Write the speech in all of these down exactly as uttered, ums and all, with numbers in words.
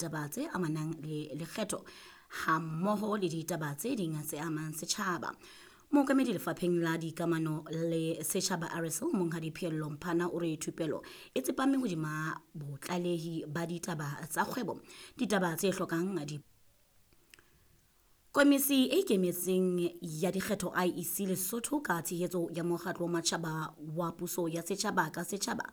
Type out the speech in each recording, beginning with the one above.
ditaba tse amanang le lekgetho hammoho le ditaba tse ding tse amang setjhaba. Mookamedi lefapheng la dikamano le setjhaba R S L Monghadi Pheello Mphana o re thupelo e tsepame hodima botlalehi ba ditaba tsa kgwebo, ditaba tse hlokang di Komisi e ikemetseng ya dikgetho I E C Lesotho ka tshehetso ya mokgatlo wa matjhaba wa puso ya setjhaba ka setjhaba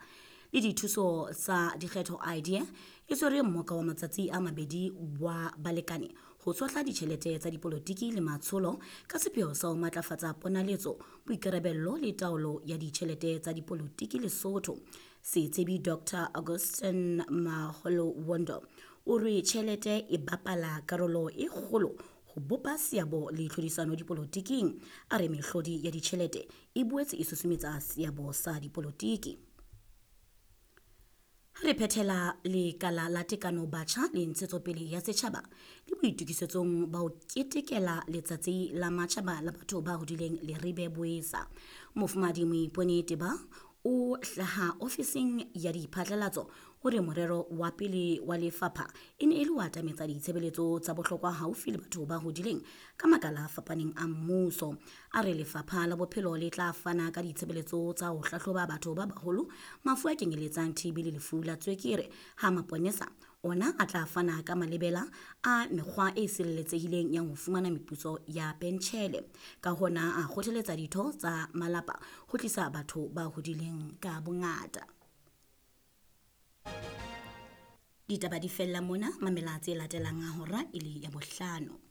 le dithuso tsa dikgetho I D A e tshwere mmoka wa matsatsi a mabedi wa balekane ho tshohla ditjhelete tsa dipolotiki le matsholo ka sepheo sa ho matlafatsa ponaletso, boikarabello le taolo ya ditjhelete tsa dipolotiki Lesotho. Setsebi Doctor Augustin Maholowondo o re tjhelete e bapala karolo e kgolo ho bopa seabo le tlhodisano dipolotiking. A re mehlodi ya ditjhelete e boetse e susumetsa seabo sa dipolotiki. Re phethela lekala la tekano batjha le ntshetsopele ya setjhaba le boitokisetsong ba ho ketekela letsatsi la matjhaba la batho ba hodileng Leribe Boesa. Mofumahadi Moipone Teba o hlaha ofising ya diphatlalatso o re morero wa pele wa lefapha e ne e le ho atametsa ditshebeletso tsa bohlokwa haufi le batho ba hodileng ka makala a fapaneng a mmuso. A re lefapha la bophelo le tla fana ka ditshebeletso tsa ho hlahloba batho ba baholo mafu a kenyeletsang T B le lefu la tswekere, ha maponesa ona a tla fana ka malebela a mekgwa e sireletsehileng ya ho fumana meputso ya pentjhele. Ka hona a kgothaletsa ditho tsa malapa ho tlisa batho ba hodileng ka bongata. Ditaba di fella mona, mamela tse latelang a hora e le ya bohlano.